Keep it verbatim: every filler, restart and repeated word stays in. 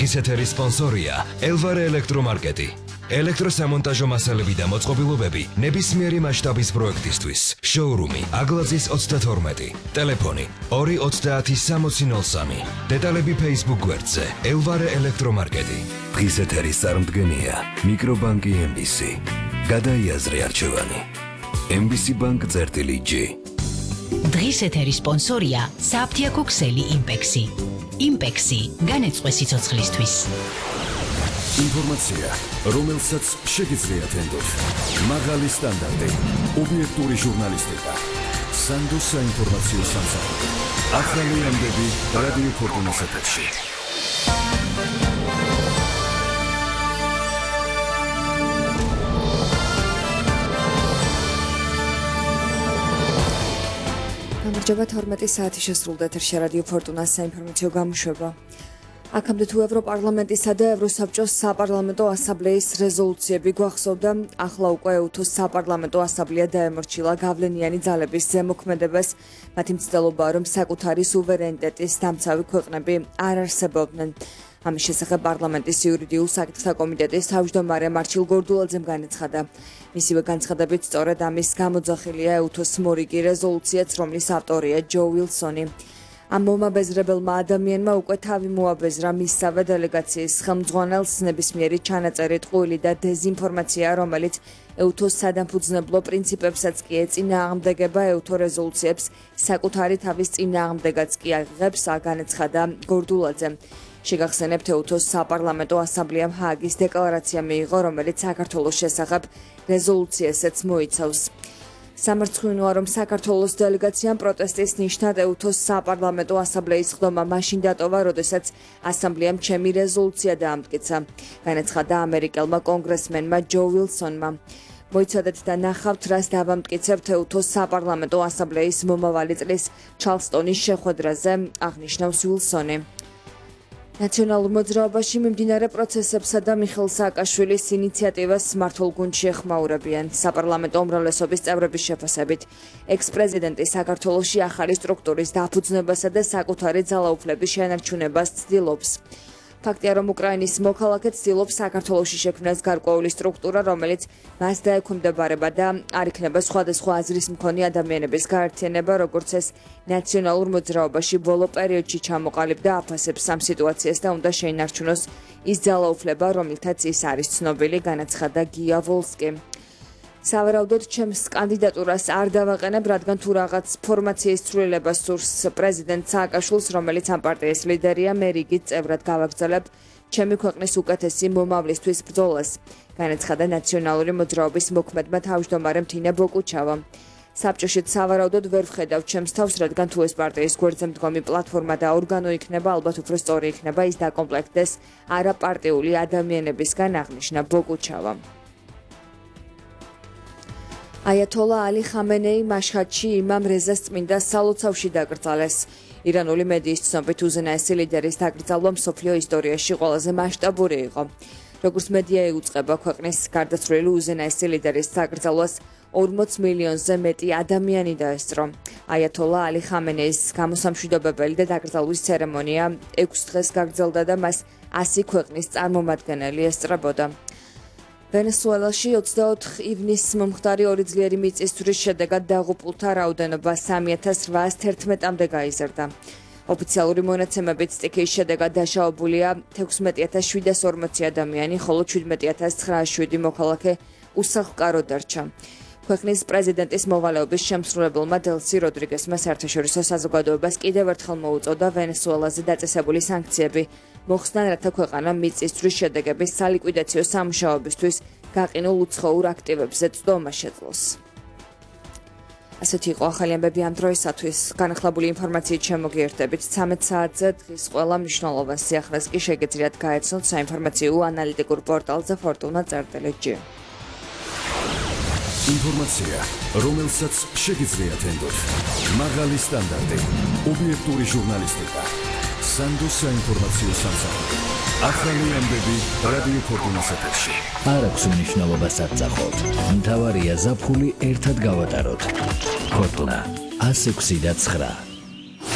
დღის ეთერის სპონსორია ელვარე ელექტრომარკეტი. ელექტროსამონტაჟო მასალები და მოწყობილობები ნებისმიერი მასშტაბის პროექტისთვის. შოურუმი აგლაძის ოცდათორმეტი. ტელეფონი ორი ოცდაათი სამოცი ნოლ სამი. დეტალები Facebook გვერდზე ელვარე ელექტრომარკეტი. დღის ეთერის წარმდგენია მიკრობანკი ემ ბი სი. გადაიაზრე არჩევანი. ემ ბი სი ბანკ წერტილი ჯი. დღის ეთერის სპონსორია საფთიაქო ქსელი იმპექსი. იმპექსი განეწყვე სიცოცხლისთვის. ინფორმაცია, რომელსაც შეგიძლიათ ენდოთ. მაღალი სტანდარტი, ობიექტური ჟურნალისტიკა. სანდოს საინფორმაციო სამსახური. ახალი ამბები რადიო ფორტუნას ეთერში. გამარჯობა, თორმეტი საათი შესრულდა ეთერში რადიო ფორტუნას საინფორმაციო გამოშვება. აქამდე თუ ევროპარლამენტისა და ევროსაბჭოს საპარლამენტო ასამბლეის რეზოლუციები გვახსოვდა, ახლა უკვე ეუთოს საპარლამენტო ასამბლეა დაემორჩილა გავლენიანი ძალების ზემოქმედებას, მათი მცდელობაა, რომ საკუთარი სუვერენიტეტის დამცავი ქვეყნები არ არსებობდნენ. ამის შესახებ პარლამენტის იურიდიულ საკითხთა კომიტეტის თავმჯდომარე მარჩილ გორდულაძემ განაცხადა. მისივე განცხადებით, სწორედ ამის გამოძახილია ეუთოს მორიგი რეზოლუციაც, რომლის ავტორია ჯო ვილსონი. ამ მომაბეზრებელმა ადამიანმა უკვე თავი მოაბეზრა მისსავე დელეგაციის ხელმძღვანელს ნებისმიერი ჩანაწერი ტყუილი და დეზინფორმაცია, რომელიც ეუთოს სადამფუძნებლო პრინციპებსაც კი ეწინააღმდეგება, ეუთო რეზოლუციებს საკუთარი თავის წინააღმდეგაც კი აღიღებს, განაცხადა გორდულაძემ. შეგახსენებთ, ეუთოს საპარლამენტო ასამბლეამ ჰააგის დეკლარაცია მიიღო, რომელიც საქართველოს შესახებ რეზოლუციასაც მოიცავს. სამარცხვინოა, რომ საქართველოს დელეგაციამ პროტესტის ნიშნად ეუთოს საპარლამენტო ასამბლეის ხდომა მაშინ დატოვა, როდესაც ასამბლეამ ჩემი რეზოლუცია დაამტკიცა, განაცხადა ამერიკელმა კონგრესმენმა ჯო ვილსონმა. მოიცადეთ და ნახავთ, რას დავამტკიცებთ ეუთოს საპარლამენტო ასამბლეის მომავალი წლის ჩარლსტონის შეხვედრაზე, აღნიშნავს ვილსონი. ნაციონალურ მოძრაობაში მიმდინარე პროცესებსა და მიხეილ სააკაშვილის ინიციატივას მმართველ გუნდში ეხმაურებიან. საპარლამენტო უმრავლესობის წევრების შეფასებით, ექს-პრეზიდენტი საქართველოში ახალი სტრუქტურის დაფუძნებასა და საკუთარი ძალაუფლების შენარჩუნებას ცდილობს. ფაქტია, რომ უკრაინის მოქალაქე ცდილობს საქართველოში შექმნას გარკვეული სტრუქტურა, რომელიც მას დაექვემდებარება და არ იქნება სხვადასხვა აზრის მქონე ადამიანების გაერთიანება, როგორც ეს ნაციონალურ მოძრაობაში ბოლო პერიოდში ჩამოყალიბდა, აფასებს ამ სიტუაციას და უნდა შეინარჩუნოს ის ძალაუფლება, რომლითაც ის არის ცნობილი, განაცხადა გია ვოლსკი. სავარაუდოდ ჩემს კანდიდატურას არ დავაყენებ, რადგან თუ რაღაც ფორმაციის ცვლილება სურს პრეზიდენტ სააკაშვილს, რომელიც ამ პარტიის ლიდერია, მე რიგით წევრად გავაგრძელებ ჩემი ქვეყნის უკეთესი მომავლისთვის ბრძოლას, განაცხადა ნაციონალური მოძრაობის მოქმედმა თავმჯდომარემ თინა ბოკუჩავამ. საბჭოშიც სავარაუდოდ ვერ ვხედავ ჩემს თავს, რადგან თუ ეს პარტიის გვერდზე მდგომი პლატფორმა და ორგანო იქნება, ალბათ უფრო სწორი იქნება ის დაკომპლექტდეს არაპარტიული ადამიანებისგან, აღნიშნა ბოკუჩავამ. აიათოლა ალი ხამენეი მაშჰადში იმამ რეზას წმინდა სალოცავში დაკრძალეს. ირანული მედიის ცნობით, უზენაესი ლიდერის დაკრძალვა მსოფლიო ისტორიაში ყველაზე მასშტაბური იყო. როგორც მედია იუწყება, ქვეყნის გარდაცვლილი უზენაესი ლიდერის დაკრძალვას ორმოც მილიონზე მეტი ადამიანი დაესწრო. აიათოლა ალი ხამენეის გამოსამშვიდობებელი და დაკრძალვის ცერემონია ექვს დღეს გაგრძელდა და მას ასი ქვეყნის წარმომადგენელი ესწრებოდა. ვენესუელაში ოცდაოთხ ივნისს მომხდარი ორი ძლიერი მიწისძვრის შედეგად დაღუპულთა რაოდენობა სამი ათას რვაას თერთმეტამდე გაიზარდა. ოფიციალური მონაცემებით სტიქიის შედეგად დაშავებულია თექვსმეტი ათას შვიდას ორმოცი ადამიანი, ხოლო შვიდმეტი ათას ცხრაას შვიდი მოქალაქე უსახლკარო დარჩა. ქვეყნის პრეზიდენტის მოვალეობის შემსრულებელმა დელსი როდრიგესმა საერთაშორისო საზოგადოებას კიდევ ერთხელ მოუწოდა ვენესუელაზე დაწესებული სანქციები მოხსნან, რათა ქვეყანა მიწისძვრის შედეგების სალიკვიდაციო სამუშაოებისთვის გაყინულ უცხოურ აქტივებზე წვდომა შეძლოს. ასეთი იყო ახალი ამბები ამ დროისათვის. განახლებული ინფორმაციით შემოგიერთებით ცამეტ საათზე დღის ყველა მნიშვნელოვან სიახლეს კი შეგეძლიათ გაეცნოთ საინფორმაციო ანალიტიკურ პორტალზე ფორტუნა წერტილი ჯი. ინფორმაცია, რომელსაც შეგიძლიათ ენდოთ. მაღალი სტანდარტი, ობიექტური ჟურნალისტიკა. სანდოს საინფორმაციო სამსახური. ახალი ამბები რადიო ფორტუნას ეთერში. არ აქვს მნიშვნელობას აწახოთ. მთავარია ზაფხული ერთად გავატაროთ. ფორტუნა ასი ექვსი და ცხრა.